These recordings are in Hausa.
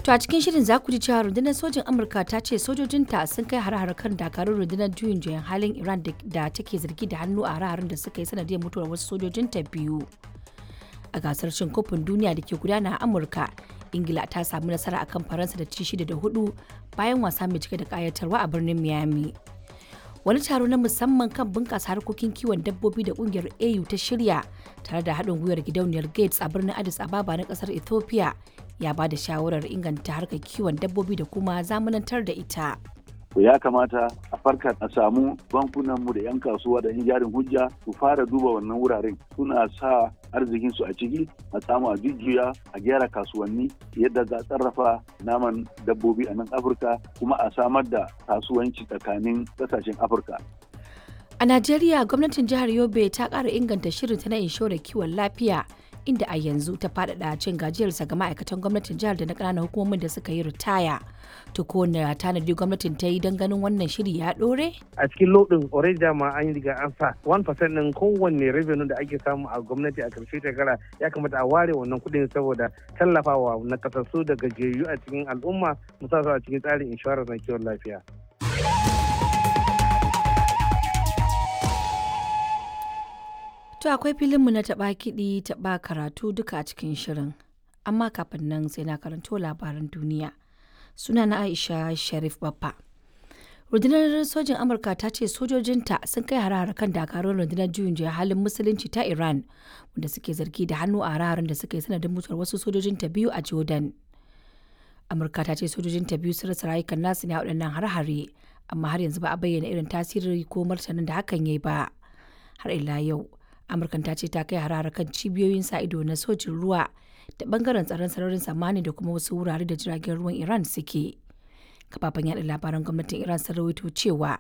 To a cikin shirin za ku ji cewa rundunar sojin Amurka ta ce sojojinta sun kai har-har kan dakarun rundunar juyin juyan halin Iran da take zargi da hannu a har-harin da suka yi sanadiyar mutuwar wasu sojojinta biyu. A gasar cin kofin duniya da ke gudana a Amurka, Ingila ta samu nasara akan Faransa da ci 6 da 4 bayan wasa mai cike da kayatarwa a birnin Miami. Wani taro na musamman kan bunƙasa harkokin kiwon dabbobi da ƙungiyar AU ta shirya tare da haɗin gwiwar gidauniyar Gates a birnin Addis Ababa na ƙasar Ethiopia ya ba da shawarar inganta harkar kiwon dabbobi da kuma zamanantar da ita. To, ya kamata a farka, a samu bankunanmu da 'yan kasuwa da 'yan jarin hujja su fara duba wannan wuraren, suna sa arzikinsu a ciki, a samu a jujjuya, a gyara kasuwanni yadda za a sarrafa naman dabbobi a nan Afirka, kuma a samar da kasuwanci tsakanin kasashen Afirka. A Najeriya, gwamnatin jihar Yobe ta ƙara inganta shirinta na inshorar kiwon lafiya, inda a yanzu ta faɗaɗa cin gajiyarsa ga ma'aikatan gwamnatin jihar da na ƙananan hukumomin da suka yi ritaya. To ko na tanadi gwamnatin ta yi don ganin wannan shiri ya ɗore? A cikin lodin already dama an riga an sa 1% din kowanne revenue da ake samu a gwamnati a karshe shekara. Ya kamata a ware wannan kuɗin saboda tallafawa na kasassu da gajiyayyu a cikin al'umma, musamman a cikin tsarin inshorar na kiwon lafiya. To akwai filinmu na taɓa kiɗi taɓa karatu duka a cikin shirin. Amma kafin nan sai na karanto labaran duniya. Suna na Aisha Sharif Baffa. Rundunar sojin Amurka ta ce sojojinta sun kai hare-hare kan dakarun rundunar juyin juya halin musulunci ta Iran, wanda suke zargi da hannu a hare-haren da suka yi sanadin mutuwar wasu sojojinta biyu a Jordan. Amurka ta ce sojojinta biyu sun rasa rayukan nasu ne a waɗannan hare-hare, amma har yanzu ba a bayyana irin tasiri ko martanin da hakan ya yi ba. Har ila yau, Amurkan ta ce ta kai harare kan cibiyoyin sa ido na sojin ruwa da bangaren tsaron sararin samani da kuma wasu wurare da jiragen ruwan Iran suke. Kafafen yada labaran gwamnatin Iran sun rawaito cewa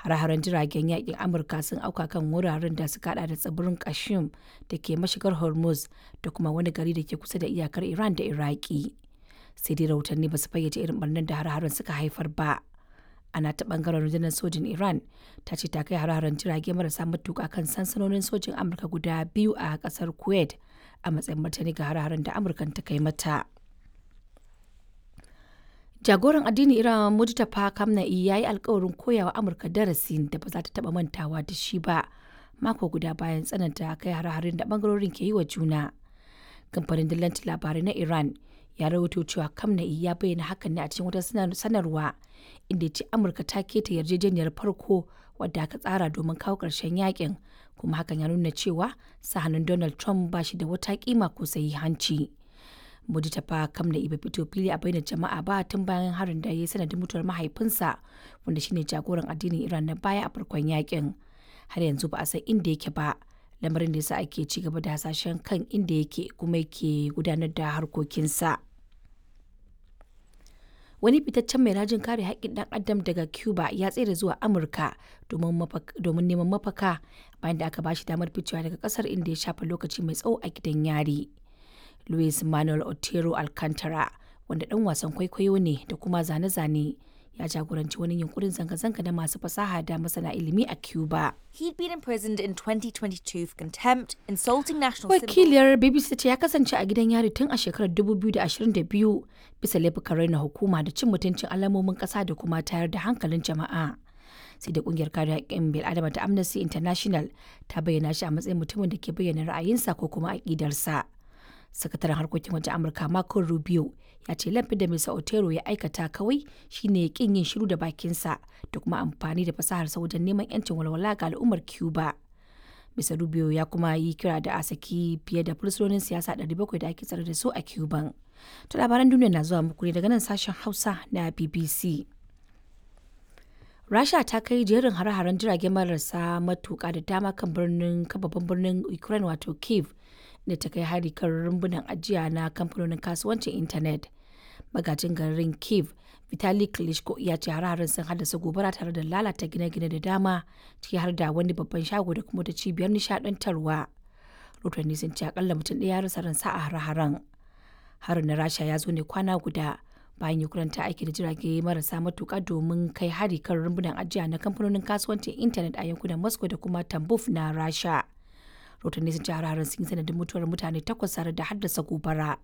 hare-haren jiragen yakin Amurka sun auka kan wuraren da suka hada da tsibirin Kashim da ke mashigar Hormuz da kuma wani gari da ke kusa da iyakar Iran da Iraki. Sai dai rahotanni ba su fayyace irin barnar da hare-haren suka haifar ba. Ana ta bangaren rundunar sojin Iran ta ce ta kai hare-haren jirage marasa matuka kan sansanonin sojin Amurka guda biyu a kasar Kuwait a matsayin martani ga hare-haren da Amurkan ta kai mata. Jagoran addinin Iran Mujtaba Khamenei ya yi alkawarin koyawa Amurka darasi da ba za ta taba mantawa da shi ba, mako guda bayan tsananta kai hare-haren da bangarorin ke yi wa juna. Kamfanin dillancin labarai na Iran ya rawaito cewa Khamenei ya bayyana hakan ne a cikin wata sanarwa, inda ya ce Amurka ta keta yarjejeniyar farko wadda aka tsara domin kawo ƙarshen yakin, kuma hakan ya nuna cewa sa hannun Donald Trump ba shi da wata kima ko hanci. Mujtaba Khamenei bai fito fili a bainar jama'a ba tun bayan harin da ya yi sanadin mutuwar mahaifinsa, wanda shine jagoran addinin Iran na baya a farkon yakin. Har yanzu ba a san inda yake ba, lamarin da yasa ake ci gaba da hasashen kan inda yake kuma yake gudanar da harkokinsa. Wani fitaccen mai rajin kare haƙƙin ɗan adam daga Cuba ya tsere zuwa Amurka domin neman mafaka bayan da aka ba shi damar ficewa daga ƙasar, inda ya shafa lokaci mai tsawo a gidan yari. Luis Manuel Otero Alcantara, wanda ɗan wasan kwaikwayo ne da kuma zane-zane, ya jagoranci wani yunkurin zanga-zanga na masu fasaha da masana ilimi a Cuba. He'd been imprisoned in 2022 for contempt, insulting national symbols. Wakiliyar BBC ta ce ya kasance a gidan yari tun a shekarar 2022 bisa laifukan raina hukuma da cin mutuncin alamomin ƙasa da kuma tayar da hankalin jama'a. Sai da kungiyar kare haƙƙin bil'adama ta Amnesty International ta bayyana shi a matsayin mutumin da ke bayyana ra'ayinsa ko kuma aƙidarsa. Sakataren harkokin wajen Amurka Marco Rubio ya ce laifin da Mr. Otero ya aikata kawai shine kin yin shiru da bakinsa da kuma amfani da fasaharsa wajen neman 'yancin walwala ga al'ummar Cuba. Mr. Rubio ya kuma yi kira da a saki fiye da fursunonin siyasa 700 da ake tsare da su a Cuban. To labaran duniya na zuwa muku ne daga nan sashen Hausa na BBC. Rasha ta kai jerin hare-haren jirage marasa matuka da dama kan birnin kan babban birnin Ukraine wato Kiev, da ta kai hari kan rumbunan ajiya na kamfanonin kasuwancin intanet. Magajin garin Kiev, Vitali Klitschko, ya ce hare-haren sun haddasa gobara tare da lalata gine-gine da dama, ciki har da wani babban shago da kuma wata cibiyar nishadantarwa. Rotanni sun ce akalla mutum ɗaya ya rasa ransa a hare-haren. Harin na Rasha ya zo ne kwana guda bayan Ukraine ta aiki da jirage marasa matuka domin kai hari kan rumbunan ajiya na kamfanonin kasuwancin intanet a yankunan Moscow da kuma Tambov na Rasha. Rotanni sun ce hare-haren sun yi sanadin mutuwar mutane takwas tare da haddasa gobara.